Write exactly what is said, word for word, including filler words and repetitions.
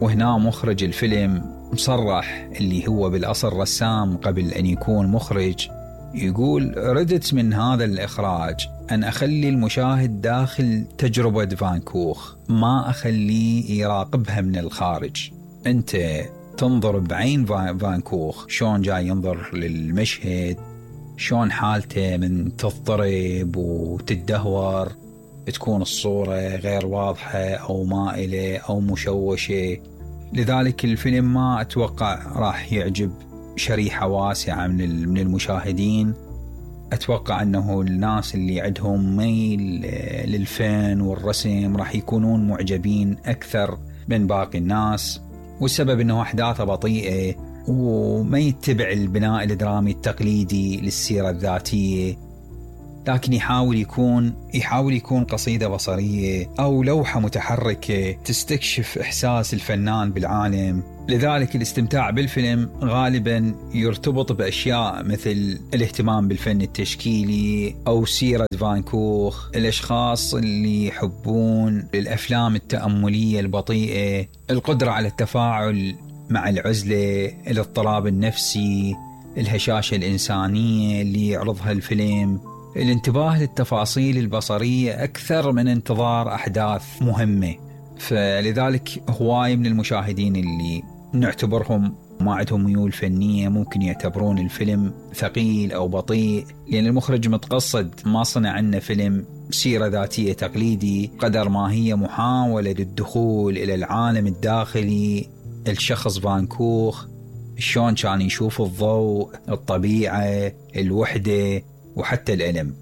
وهنا مخرج الفيلم مصرح اللي هو بالأصل رسام قبل أن يكون مخرج، يقول ردت من هذا الإخراج أن أخلي المشاهد داخل تجربة فان كوخ، ما أخليه يراقبها من الخارج. أنت تنظر بعين فان كوخ شون جاي ينظر للمشهد، شون حالته من تضطرب وتدهور، تكون الصورة غير واضحة أو مائلة أو مشوشة. لذلك الفيلم ما أتوقع راح يعجب شريحة واسعة من من المشاهدين. أتوقع أنه الناس اللي عندهم ميل للفن والرسم راح يكونون معجبين أكثر من باقي الناس، والسبب أنه أحداثه بطيئة وما يتبع البناء الدرامي التقليدي للسيرة الذاتية، لكن يحاول يكون يحاول يكون قصيدة بصرية أو لوحة متحركة تستكشف إحساس الفنان بالعالم. لذلك الاستمتاع بالفيلم غالبا يرتبط بأشياء مثل الاهتمام بالفن التشكيلي أو سيرة فان كوخ، الأشخاص اللي يحبون الأفلام التأملية البطيئة، القدرة على التفاعل مع العزلة، الاضطراب النفسي، الهشاشة الإنسانية اللي يعرضها الفيلم، الانتباه للتفاصيل البصرية أكثر من انتظار أحداث مهمة. فلذلك هواي من المشاهدين اللي نعتبرهم ما عندهم ميول فنية ممكن يعتبرون الفيلم ثقيل أو بطيء، لأن المخرج متقصد ما صنع عنا فيلم سيرة ذاتية تقليدي قدر ما هي محاولة للدخول إلى العالم الداخلي الشخص فان كوخ، شلون كان يشوف الضوء، الطبيعة، الوحدة وحتى الألم.